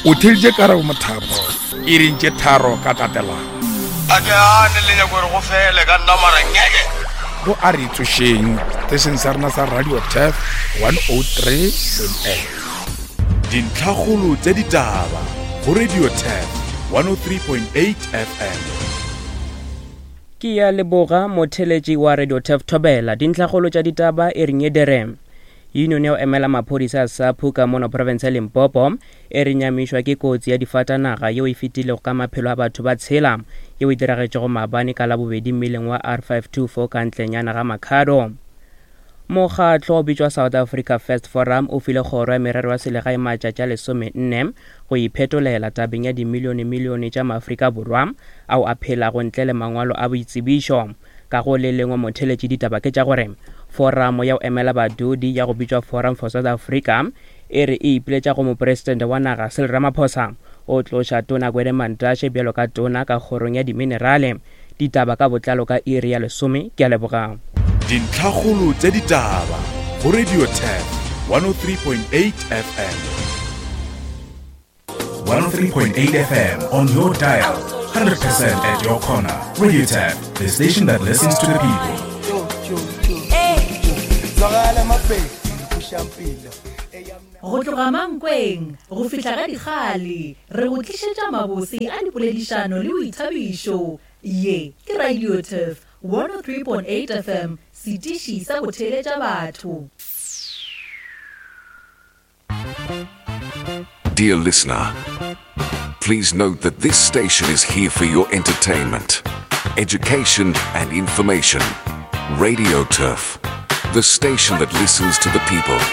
O theeditše Karabo Mothapo iring tše tharo ka tatelano. A ke gane le nyako gore go fele ka nna mara ngeke. Go a re tsošeng setešeng sa rena sa Radio Turf 103.8. Dintlhakgolo tša ditaba go Radio Turf 103.8 FM. Ke ya leboga motheletši wa Radio Turf Thobela. Dintlhakgolo tša ditaba e reng e dere. Union ya go emela maphodisa a SAPU ka mono profense ya Limpopo e re nyamišwa ke kotsi ya difatanaga yeo e fetilego ka maphelo a batho ba tshela yeo e diragetšego maabane ka Labobedi mmileng wa R524 ka ntlenyana ga Makhado. Mokgatlo o bitšwa South Africa First Forum o file kgoro ya merero ya selegae matšatši a lesomenne go iphetolela tabeng ya dimilionemilione tša maAfrika Borwa ao a phelago ntle le mangwalo a boitsebišo. Ka go le lengwe motheletši ditaba ke tša gore foramo ya go emela badudi ya go bitšwa Forum for South Africa e re e ipiletša go mopresidente wa naga Cyril Ramaphosa o tloša tona Gwede Mantashe bjalo ka tona ka kgorong ya diminerale. Ditaba ka botlalo ka iri ya lesome. Ke a leboga. Dintlhakgolo tša ditaba go Radio Turf 103.8 FM. 103.8 FM on your dial. 100% at your corner. Radio Tap, the station that listens to the people. Go tloga Mankweng go fihla ga Dikgale, re go tlišetša mabose a dipoledišano le boithabišo. Ye ke Radio Turf 103.8 FM, setiši sa go theeletša batho. Dear listener, please note that this station is here for your entertainment, education, and information. Radio Turf, the station that listens to the people.